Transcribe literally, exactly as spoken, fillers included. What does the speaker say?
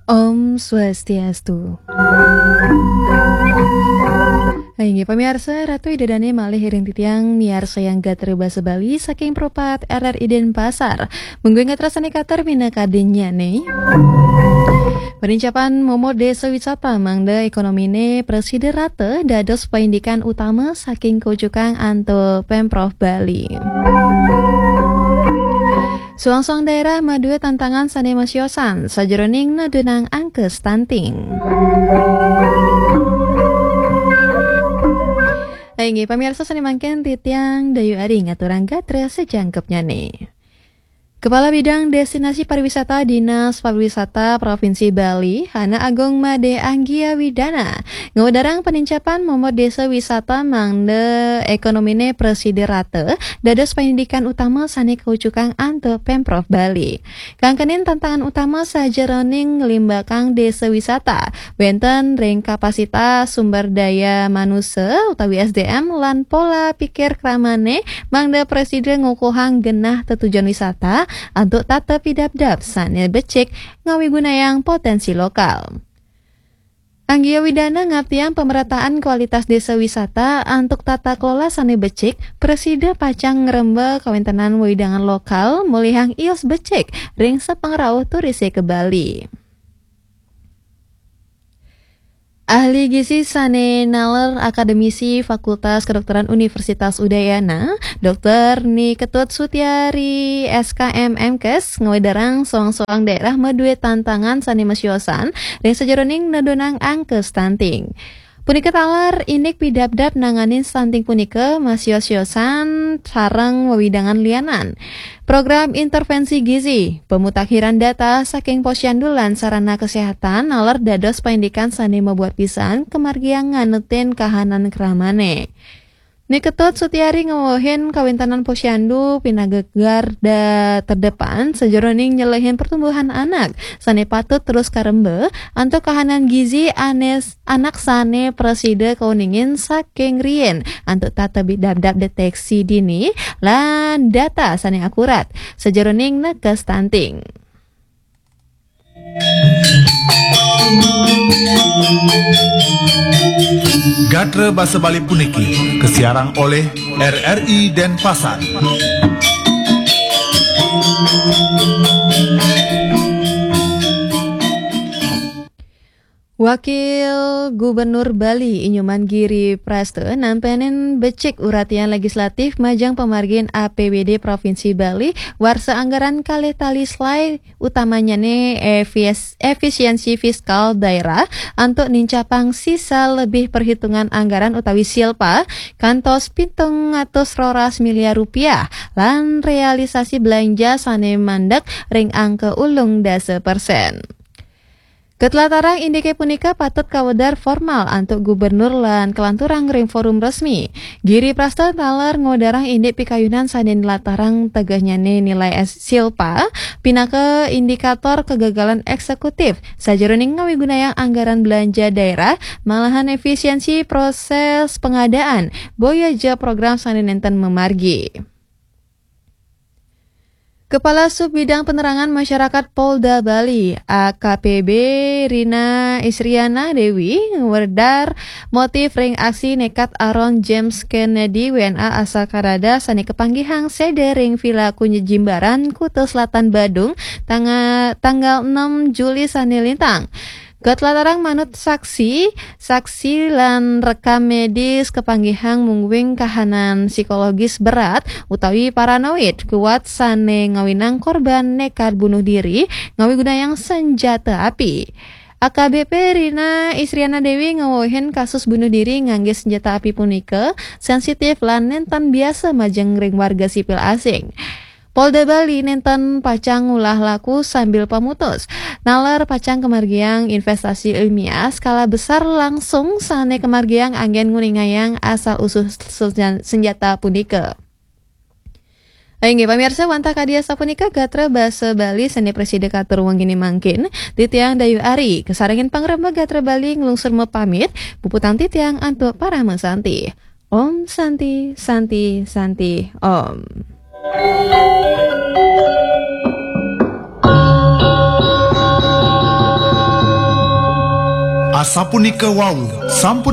Om Swastiastu. Inggih pamiarsa, Ratu Ida Dane malih ring titiang miarsayang gatra basa Bali saking Pro empat R R I Denpasar. Mungguing gatra sane katur minakadinnyane. Panincapan momot desa wisata mangda ekonomine prasida rata dados paindikan utama saking kaujukan antuk Pemprov Bali. Suang-suang daerah madue tantangan sane masiosan sajeroning nedunang angka stunting. Inggih pamiarsa, sane mangkin titiang Dayu Ari ngaturang gatra sajangkepnyane. Kepala Bidang Destinasi Pariwisata Dinas Pariwisata Provinsi Bali, Hana Agung Made Anggia Widana, ngwedarang panincapan momot desa wisata mangda ekonomine prasida rata dados paindikan utama sane kaujukan antuk Pemprov Bali. Kangkenin tantangan utama sajeroning nglimbakang desa wisata wenten ring kapasitas sumber daya manusa utawi S D M lan pola pikir kramane mangda prasida ngukuhang genah tetujon wisata antuk tata pidabdab sane becik ngawigunayang potensi lokal. Anggia Widana ngaptiang pemerataan kualitas desa wisata antuk tata kelola sane becik, prasida pacang ngremba kawentenan wewidangan lokal, mulihang ius becik ring sapangrauh turise ka Bali. Ahli gizi sane naler akademisi Fakultas Kedokteran Universitas Udayana, Dokter Ni Ketut Sutiari, S K M, M Kes, ngwedarang soang-soang daerah madue tantangan sane masiosan ring sajeroning nedunang angka stunting. Punika taler indik pidabdab nanganin stunting punika masios-siosan sareng wewidangan lianan. Program intervensi gizi, pemutakhiran data saking Posyandu lan sarana kesehatan naler dados paindikan sane mabuat pisan kamargiang nganutin kahanan kramane. Ni Ketut Sutiari ngwewehin kawentenan Posyandu pinagegar da terdepan sajeroning nyelehin pertumbuhan anak sane patut terus karemba antuk kahanan gizi anes anak sane prasida kauningin saking riin antuk tata bidabdab deteksi dini lan data sane akurat sajeroning nekes stunting. Gatra basa Bali puniki kasiarang oleh R R I Denpasar. Wakil Gubernur Bali I Nyoman Giri Prasta nampenin becik uratian legislatif majeng pamargin A P B D Provinsi Bali warsa anggaran kalih tali slai, utamanyane efis-, efisiensi fiskal daerah antuk nincapang sisa lebih perhitungan anggaran utawi silpa kantos pitung atus roras miliar rupiah lan realisasi belanja sane mandek ring angka ulung dasa persen. Katlatarang indike punika patut kawedar formal antuk gubernur lan kalanturang ring forum resmi. Giri Prasta taler ngwedarang indik pikayunan sane nlatarang tegehnyane nilai es-, silpa pinaka indikator kegagalan eksekutif sajeroning ngawigunayang anggaran belanja daerah, malahan efisiensi proses pengadaan, boya ja program sane nenten mamargi. Kepala Sub Bidang Penerangan Masyarakat Polda Bali, A K P B, Rina Isriana Dewi, ngwedar motif ring aksi nekat aron James Kennedy W N A asal Kanada sane kapanggihang seda ring Villa Kunjit Jimbaran, Kuta Selatan, Badung, tanga-, tanggal enam Juli sane lintang. Katlatarang manut saksi, saksi lan rekam medis kapanggihang mungguing kahanan psikologis berat utawi paranoid kuat sane ngawinang korban nekat bunuh diri ngawigunayang senjata api. A K B P Rina Isriana Dewi ngwewehin kasus bunuh diri ngangge senjata api punika sensitif lan nenten biasa majeng ring warga sipil asing. Polda Bali nenten pacang ngulah laku sambil pamutus. Naler pacang kamargiang investasi ilmiah skala besar langsung sane kamargiang anggen nguningayang asal usul sen-, senjata punika. Inggih pamiarsa, wantah kadi asapunika gatra basa Bali sane prasida katur wengi mangkin. Titiang Dayu Ari, kasarengin pangrembag gatra Bali nglungsur mapamit, puputang titiang antuk parama santi. Om Santi, Santi, Santi, Om. Sapunika wau, sampun